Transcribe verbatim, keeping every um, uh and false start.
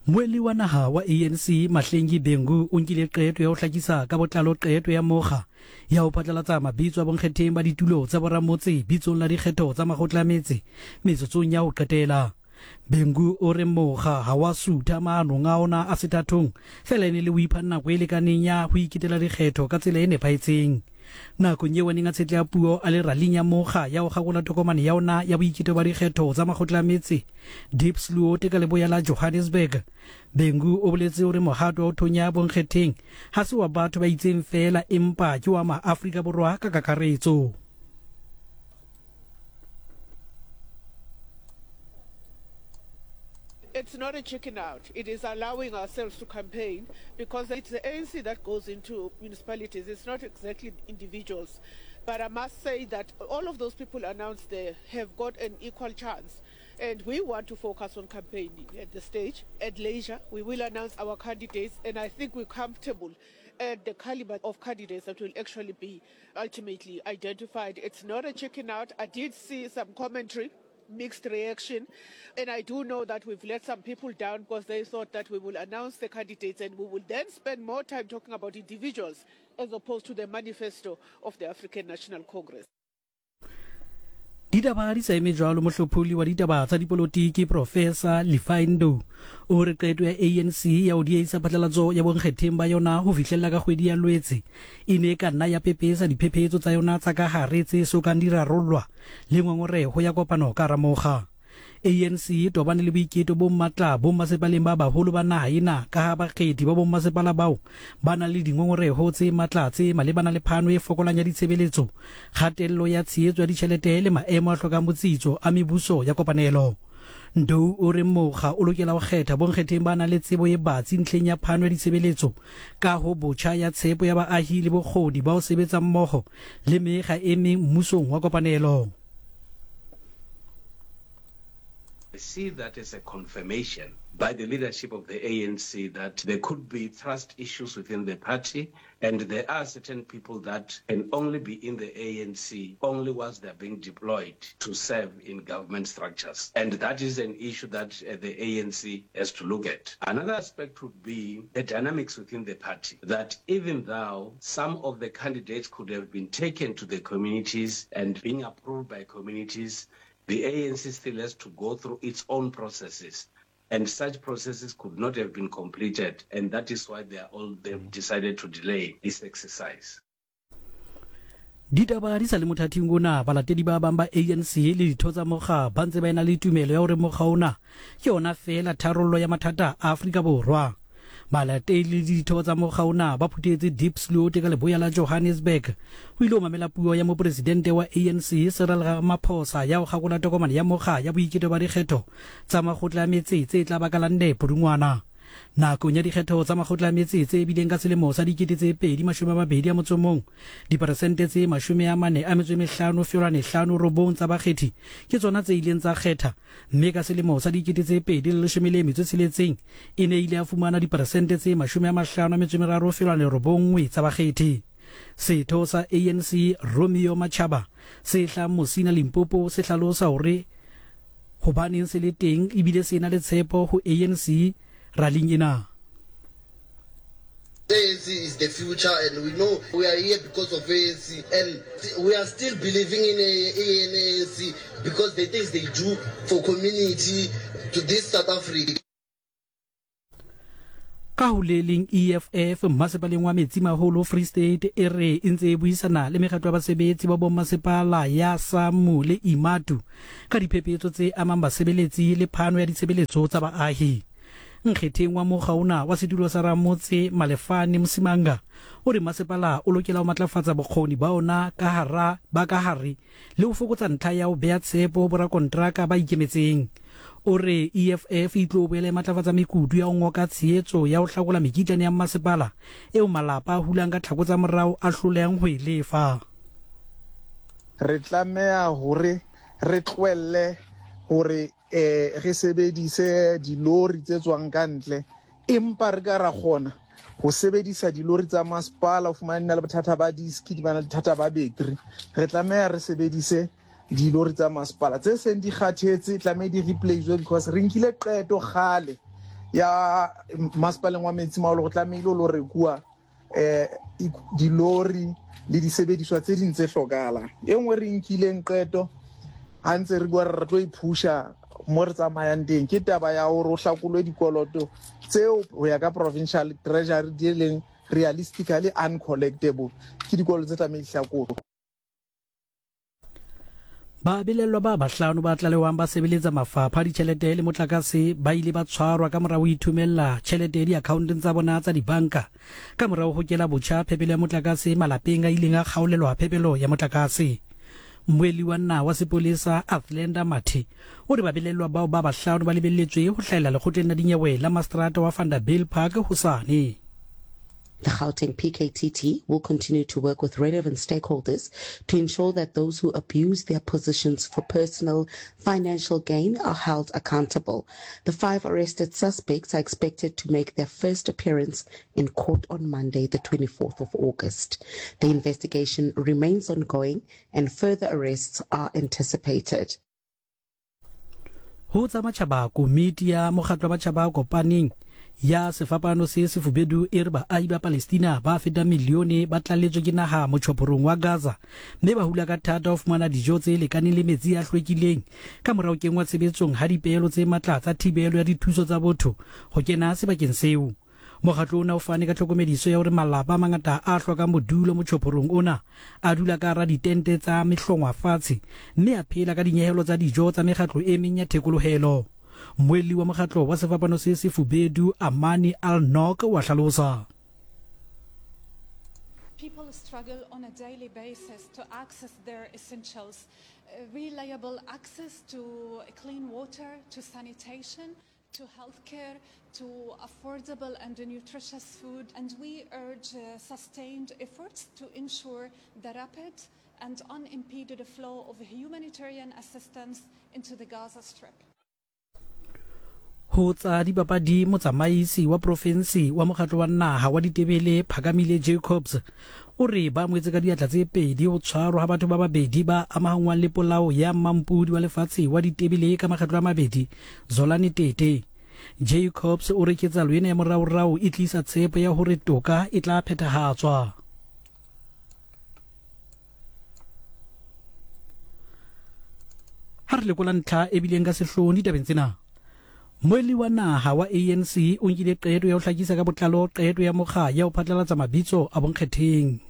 Mmuelli wa naha wa A N C Mahlengi Bhengu o nkile qeto ya ho hlakisa ka botlalo qeto ya mokga ya ho phatlalatsa mabitso a bonkgetheng ba ditulo tsa boramotse bitsong la dikgetho tsa makgotla a metse metsotsong ya ho qetela. Bhengu o re mokga ha wa sutha maanong a ona a sethathong fela e ne le ho ipha nako e lekaneng ya ho iketela dikgetho ka tsela e nepahetseng. Nakong eo a neng a tshetleha puo a le raling ya mokga ya ho kgakola tokomane ya ona ya boiketo ba dikgetho tsa makgotla a metse Diepsloot ka leboya la Johannesburg, Bhengu o boletse hore mohato wa ho thonya bonkgetheng ha se wa batho ba itseng feela empa ke wa maAfrika Borwa ka kakaretso. It's not a chicken out. It is allowing ourselves to campaign because it's the A N C that goes into municipalities. It's not exactly individuals. But I must say that all of those people announced there have got an equal chance. And we want to focus on campaigning at the stage. At leisure, we will announce our candidates, and I think we're comfortable at the caliber of candidates that will actually be ultimately identified. It's not a chicken out. I did see some commentary, mixed reaction, and I do know that we've let some people down because they thought that we will announce the candidates and we will then spend more time talking about individuals as opposed to the manifesto of the African National Congress. Ditaba di sa eme jwalo, mohlopholi wa ditaba tsa dipolotiki Professor Lefaindo o re qeto ya A N C ya ho dieisa phatlalatso ya bonkgetheng ba yona ho fihlella ka kgwedi ya Lwetse e ne e ka nna ya pepesa diphephetso tsa yona tsa ka hare tse sokang di rarollwa le ngongoreho ya kopano ka hara mokga. A N C e tobane le boiketo bo matla bo mmasepaleng ba baholo ba naha ena ka ha bakgethi ba bommasepala bao ba nang le dingongoreho tse matla tse malebana le phano e fokolang ya ditshebeletso, kgatello ya tshehetso ya ditjhelete le maemo a hlokang botsitso a mebuso ya kopanelo. Ndou o re mokga o lokela ho kgetha bonkgetheng ba nang le tsebo e batsi ntlheng ya phano ya ditshebeletso, ka ho botjha ya tshepo ya baahi le bokgoni ba ho sebetsa mmoho le mekga e meng mmusong wa kopanelo. I see that as a confirmation by the leadership of the A N C that there could be trust issues within the party, and there are certain people that can only be in the A N C only once they are being deployed to serve in government structures. And that is an issue that uh, the A N C has to look at. Another aspect would be the dynamics within the party, that even though some of the candidates could have been taken to the communities and being approved by communities, the A N C still has to go through its own processes, and such processes could not have been completed, and that is why they are all they've decided to delay this exercise. Ditaba di sa le mothating ona, balatedi ba bang ba A N C le ditho tsa mokga ba ntse ba ena le tumelo ya hore mokga ona ke yona feela tharollo ya mathata a Afrika Borwa. Balatedi le ditho tsa mokga ona ba phuthetse Diepsloot ka leboya la Johannesburg ho ile ho mamela puo ya mopresidente wa A N C Cyril Ramaphosa ya ho kgakola tokomane ya mokga ya boiketo ba dikgetho tsa makgotla a metse tse tla baka la nne Pudungwana. Nakong ya dikgetho tsa makgotla a metse tse bileng ka selemo sa dikete tse pedi mashome a mabedi a motso mong, diperesente tse mashome a mane a metso e mehlano feolwane hlano robong tsa bakgethi ke tsona tse ileng tsa kgetha, mme ka selemo sa dikete tse pedi le leshome le metso e tsheletseng e ne ile ya fumana diperesente tse mashome a mahlano a metso e meraro feolwane robonngwe tsa bakgethi. Setho sa A N C Romeo Machaba se hlahang Musina Limpopo se hlalosa hore hobaneng se le teng ebile se na le tshepo ho A N C raling ena. A N C is the future, and we know we are here because of A N C, and we are still believing in A N C because the things they do for community to this South Africa. Ka ho le leng E F F mmasepaleng wa Metsimaholo Free State e re e ntse e buisana le mekgatlo ya basebetsi ba bommasepala ya SAMU le IMATU ka diphephetso tse amang basebeletsi le phano ya ditshebeletso tsa baahi. Nkgetheng wa mokga ona wa setulo sa ramotse Malefane Msimanga o re masepala o lokela ho matlafatsa bokgoni ba ona ka hara ba ka hare le ho fokotsa ntlha ya ho beha tshepo ho borakontraka ba ikemetseng. O re E F F e tlo boela e matlafatsa mekutu ya ho ngoka tshehetso ya ho hlakola mekitlane ya masepala eo malapa a hulang ka tlhako tsa morao a hlolehang ho e lefa. Re tlameha hore re tlohelle hore eh re sebedise dilori tse tswang ka ntle, empa re ka ra kgona ho sebedisa dilori tsa masepala ho fumana di na le bothata ba diski, di ba na le bothata ba battery. Re tlameha re sebedise dilori tsa masepala tse seng di kgathetse, tlameha di replace because re nkile qeto kgale ya masepaleng wa Metsimaholo go tlamehile lo rekuwa eh dilori le disebediswa tse ding tse hlokahalang. E nngwe re nkileng qeto ha ntse re bua re tlo iphusha mo re tsamayang teng ke taba ya hore o hlakolwe dikoloto tseo ho ya ka provincial treasury di leng realistically uncollectible, ke dikoloto tse tlamehile hlakolwe. Babelellwa ba bahlano ba tlalewang ba sebeletsa mafapha a ditjhelete le motlakase ba ile ba tshwarwa ka morao ho ithomella tjhelete diakhaonteng tsa bona tsa dibanka ka morao ho kela botjha phepelo ya motlakase malapeng a ileng a kgaolelwa phepelo ya motlakase. Mmuelli wa naha wa sepolesa Athlenda Mathe o re babelellwa bao ba bahlano ba lebelletswe ho hlahella lekgotleng la dinyewe la mastrata wa Vanderbijlpark hosane. The Gauteng P K T T will continue to work with relevant stakeholders to ensure that those who abuse their positions for personal financial gain are held accountable. The five arrested suspects are expected to make their first appearance in court on Monday, the twenty-fourth of August. The investigation remains ongoing and further arrests are anticipated. Ho tsa matjhaba, komiti ya mokgatlo wa matjhaba a kopaneng ya sefapano se sefubedu e re baahi ba Palestina ba fetang milione ba tlaletswe ke naha motjhophorong wa Gaza mme ba hula ka thata ho fumana dijo tse lekaneng le metsi a hlwekileng ka morao kenngwa tshebetsong ha dipehelo tse matla tsa thibelo ya dithuso tsa botho ho kena sebakeng seo. Mokgatlo ona o fane ka tlhokomediso ya hore malapa a mangata a hlokang bodulo motjhophorong ona a dula ka hara ditente tsa mehlongwa fatshe mme a phela ka dinyehelo tsa dijo tsa mekgatlo e meng ya thekolohelo. Mmuelli wa mokgatlo wa sefapano se sefubedu Amani Al-Nok wa hlalosa. People struggle on a daily basis to access their essentials, uh, reliable access to clean water, to sanitation, to healthcare, to affordable and nutritious food. And we urge uh, sustained efforts to ensure the rapid and unimpeded flow of humanitarian assistance into the Gaza Strip. Ho tsa dipapadi, motsamaisi wa profensi wa mokgatlo wa naha wa ditebele Phakamile Jacobs o re ba amohetse ka diatla tse pedi ho tshwarwa ha batho ba babedi ba amahanngwang le polao ya mampudi wa lefatshe wa ditebele ka makgetlo a mabedi Zolani Tete. Jacobs o re ketsahalo ena ya moraorao e tlisa tshepo ya hore toka e tla phethahatswa. Ha re lekola ntlha e bileng ka sehloohong ditabeng tsena, Mmuelli wa naha wa A N C o nkile qeto ya ho hlakisa ka botlalo qeto ya mokga ya ho phatlalatsa mabitso a bonkgetheng.